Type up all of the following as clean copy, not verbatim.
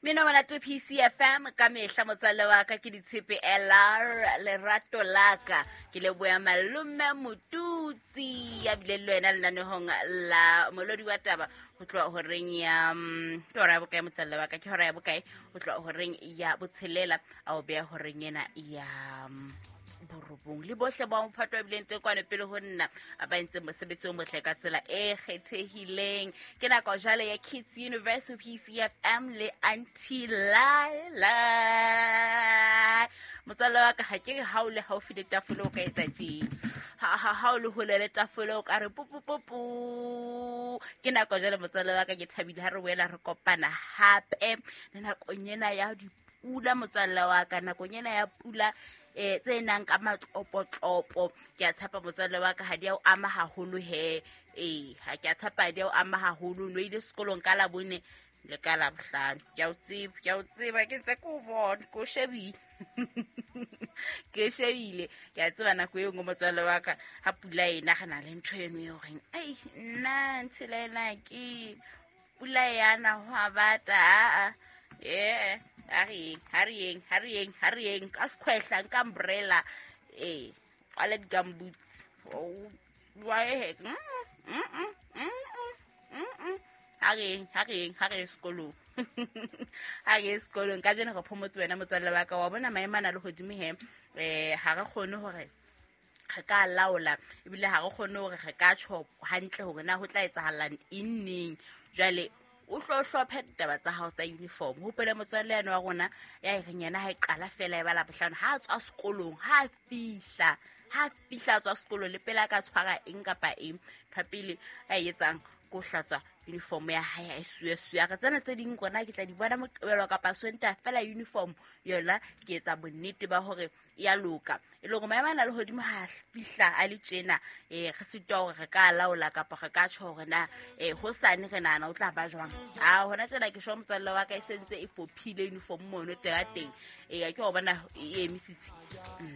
Mmino monate PCFM ka mehla motswalle wa ka ke ditshepe LR lerato laka ke leboya malome Motutsi ya bile le wena lenanehong la molodi wa taba go tloga horeng ya ke hora ya bokae motswalle wa ka ke hora ya bokae go tloga horeng ya botshelela a o beya horeng ena ya borobong le bohle ba mophato wa bileng teng kwano pele ho nna ba entseng mosebetsi o motle ka tsela e kgethehileng. Ke nako jale ya Kids Universe PCFM le Auntie Laila. Motswalle wa ka ga ke re ha o le haufi le tafole o ka etsa tje, ha o le hole le tafole o ka re pupupupu. Ke nako jale motswalle wa ka, ke thabile ha re boela re kopana hape le nakong ena ya dipula motswalle wa ka, nakong ena ya pula tse nang ka matlopotlopo. Ke a tshepa motswalle wa ka ha di a o ama haholo he, ee ha ke a tshepa ha di a o ama haholo. No ile sekolong ka Labone le ka Labohlano, ke a o tseba, ke a o tseba, ke ntse ke o bona, ke o shebile, ke shebile, ke a tseba nako e nngwe motswalle wa ka ha pula ena re na le ntho eno e horeng ai nna ntshela ena ke pula yana ho a bata aa ee ha re yeng, ha re yeng, ha re yeng, ha re yeng ka sekhwehla nka umbrella ee kwala di-gumboots wa ehe ha re yeng, ha re yeng, ha re ye sekolong, ha re ye sekolong ka jeno re phomotse wena motswalle wa ka wa bona maemo a na le godimo he ha re kgone hore re ka laola ebile ha re kgone hore re ka tjho hantle hore na ho tla etsahalang eng neng. Jwale o hlo hlophe ditaba tsa hao tsa uniform. Hopole motswalle yane wa rona ya e reng yena ha e qala fela e ba Labohlano ha a tswa sekolong, ha fihla, ha fihla a tswa sekolong le pele a ka tshwara eng kapa eng, ntho ya pele a e etsang ke ho hlatswa uniform ya hae a e suya-suya. Re tsena tse ding rona ke tla di bona Moqebelo kapa Sontaha fela uniform yona ke etsa bonnete ba hore ya loka. E le hore maemo a na le hodimo ha fihla a le tjena, re sitwa hore re ka laola kapa re ka tjho hore na hosane re nahana o tla ba jwang. A hona tjena ke sho motswalle wa ka e sentse e fophile uniform mono terateng. Ke ho bona e emisitse.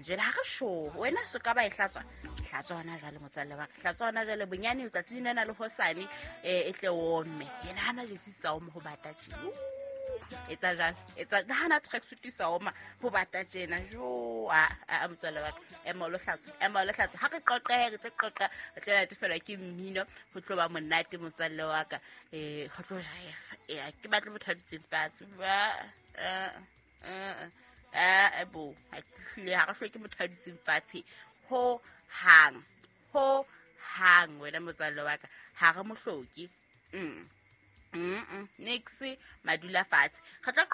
Jwale ha re sho wena so ka ba e hlatswa, hlatswa hona jwale motswalle wa ka, hlatswa hona jwale bonyane letsatsi lena le hosane e tle ome. Ke nahana jesi sa ome ho bata tje. Etsa jwalo, etsa nahana tracksuit sa oma ho bata tjena. Jo, a motswalle wa ka, ema o lo hlatswa, ema o lo hlatswa. Ha re qoqe, re tlo qoqa, re tlo natefelwa ke mmino, ho tlo ba monate motswalle wa ka. Ho tlo jaefa. Ke batle motho a dutseng fatshe. Ba, bo, ha ke hlile, ha re hloke motho a dutseng fatshe ho hang, ho hang wena motswalle wa ka, ha re mo hloke. Nix madula fatshe. Re tlo